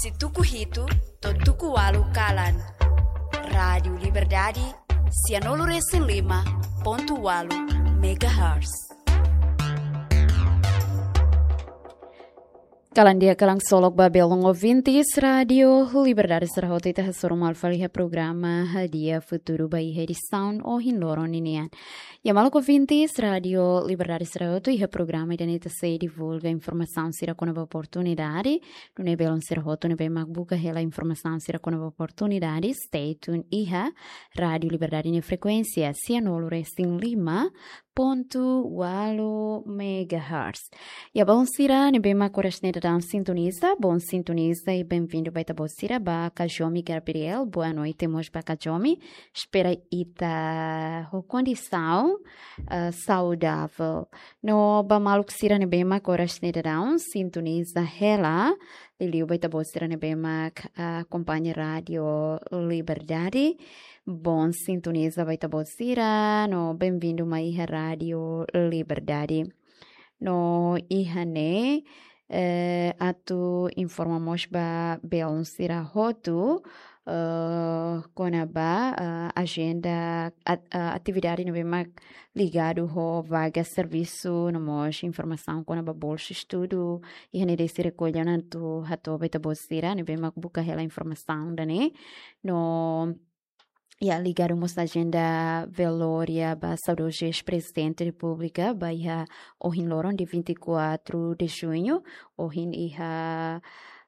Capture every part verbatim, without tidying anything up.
Husi tuku hitu to'o tuku ualu kalan. Rádiu Liberdade, sianulu resin lima pontu ualu megahertz. Kalan di'ak, kalan solok ba belun ouvintes Rádiu Liberdade sira hotu, ita hasoru malu fali iha programa Hadi'a Futuru ba iha edisaun ohin loron ninian. Ya, maluk ouvintes Rádiu Liberdade sira hotu, iha programa ida-ne'e ita sei divulga informasaun sira kona-ba oportunidade. Nune'e belun sira hotu ne'ebé mak buka hela informasaun sira kona-ba oportunidade, stay tune iha Rádiu Liberdade nia frekuénsia, sianulu resin lima pontu ualu megahertz. Ya, belun sira ne'ebé mak oras ne'e daudaun sintoniza, bom sintonizadór, i bem-vindo ba ita-boot sira, ba Kajomi Gabriel, boa noite mós ba Kajomi. Espera ita ho kondisaun, eh, saudável. No ba maluk sira ne'ebé mak oras ne'e daudaun sintoniza hela, liuliu ba ita-boot sira ne'ebé mak, ah, akompaña Rádiu Liberdade. Bom sintonizadór ba ita-boot sira, no bem-vindo mai iha Rádiu Liberdade. No iha ne'e, eh, atu informa mós ba belun sira hotu, eh, kona-ba, eh, ajenda at-, eh, atividade ne'ebé mak ligadu ho vaga servisu, no mós informasaun kona-ba bolsa estudu, iha ne'e deside rekolla ona atu hato'o ba ita-boot sira ne'ebé mak buka hela informasaun ida-ne'e. No, ya, ligadu mós ajenda velória ba saudozu eis-Prezidente Repúblika, ba iha ohin loron, dia vinte e quatro de junho, ohin iha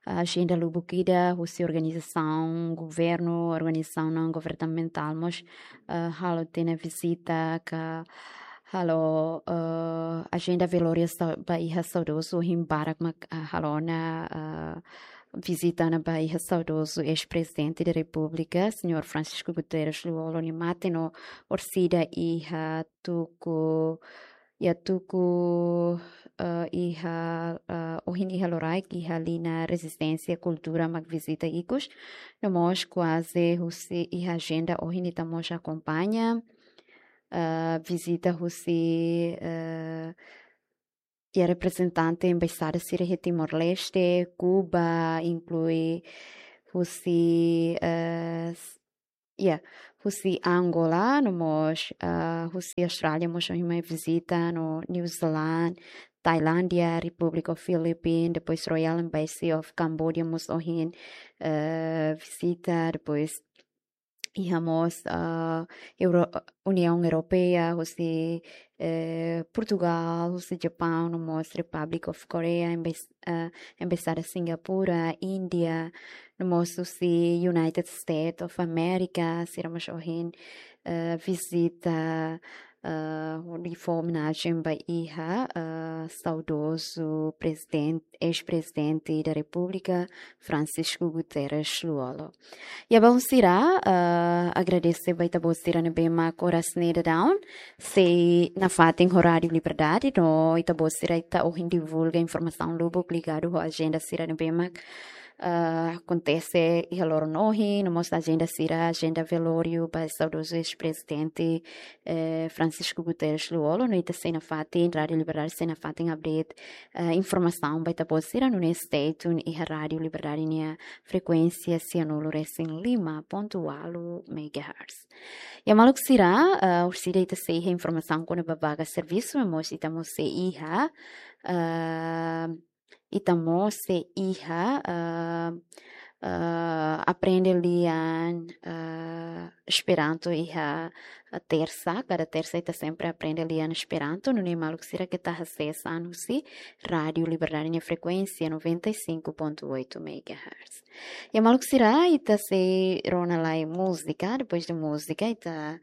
ajenda lubuk ida husi organizasaun governu, organizasaun naun governamentál mós, eh, halo tiha ona vizita ka halo, eh, ajenda velória sa-, ba iha saudozu, ohin barak mak, eh, halo ona, eh, vizita ona ba iha saudozu eis-Prezidente da Repúblika, señór Francisco Guterres Lú-Olo nia mate, no orsida iha tuku, ya, tuku, eh, iha, eh, ohin iha loraik, iha liña Rezisténsia Kultura mak vizita ikus, no mós kuaze husi iha ajenda ohin ita mós akompaña, eh, vizita husi, eh, ya, reprezentante embaixada sira iha Timor-Leste, Kuba, inklui husi, eh, s-, ya, husi Angola, no mós, eh, husi Austrália mós ohin mai vizita, no New Zealand, Tailándia, Republic of Philippines, depois Royal Embassy of Cambodia mós ohin, eh, vizita, depois iha mós, ah, Euro-, Uniaun Europeia, husi, eh, Portugal, husi Japaun, no mós Republic of Korea, embes-, ah, embaixada Singapura, Índia, no mós husi United States of America, sira mós ohin, eh, vizita, eh, hodi fó omenajen ba iha, eh, saudozu prezidente, eis-Prezidente da Repúblika, Francisco Guterres Lú-Olo. Ya, belun sira, eh, agradese ba ita-boot sira ne'ebé mak oras ne'e daudaun sei nafatin ho Rádiu Liberdade, no ita-boot sira ita ohin divulga informasaun lubuk ligadu ho ajenda sira ne'ebé mak, eh, akontese iha loron ohin, no mós ajenda sira, ajenda velóriu ba saudozu eis-Prezidente, eh, Francisco Guterres Lú-Olo, no ita sei nafatin, Rádiu Liberdade sei nafatin update, eh, informasaun ba ita-boot sira, nune'e stay tune iha Rádiu Liberdade nia frekuénsia sianulu resin lima pontu ualu megahertz. Ya, maluk sira, eh, orsida ita sei iha informasaun kona-ba vaga servisu, no mós ita mós sei iha, eh, ita mós sei iha, eh, eh, aprende lian, eh, Esperanto iha, eh, tersa, kada tersa ita sempre aprende lian Esperanto, nune'e maluk sira keta hasees an husi Rádiu Liberdade nia frekuénsia noventa e cinco ponto oito megahertz. Ya, maluk sira, ita sei rona lai múzika, depois de múzika ita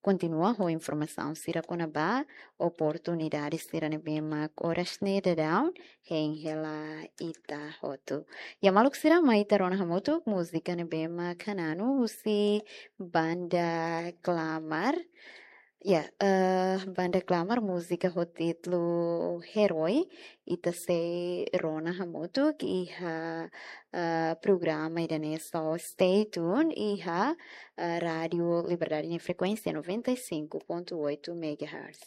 kontinua ho informasaun sira kona-ba oportunidade sira ne'ebé mak oras ne'e daudaun hein hela ita hotu. Ya, maluk sira, mai ita rona hamutuk múzika ne'ebé mak hananu husi Banda Klamar. Ya, eh, Banda Klamar, múzika ho títulu Herói, ita sei rona hamutuk iha, eh, programa ida-ne'e, so stay tune iha, eh, Rádiu Liberdade nia frekuénsia noventa e cinco ponto oito megahertz.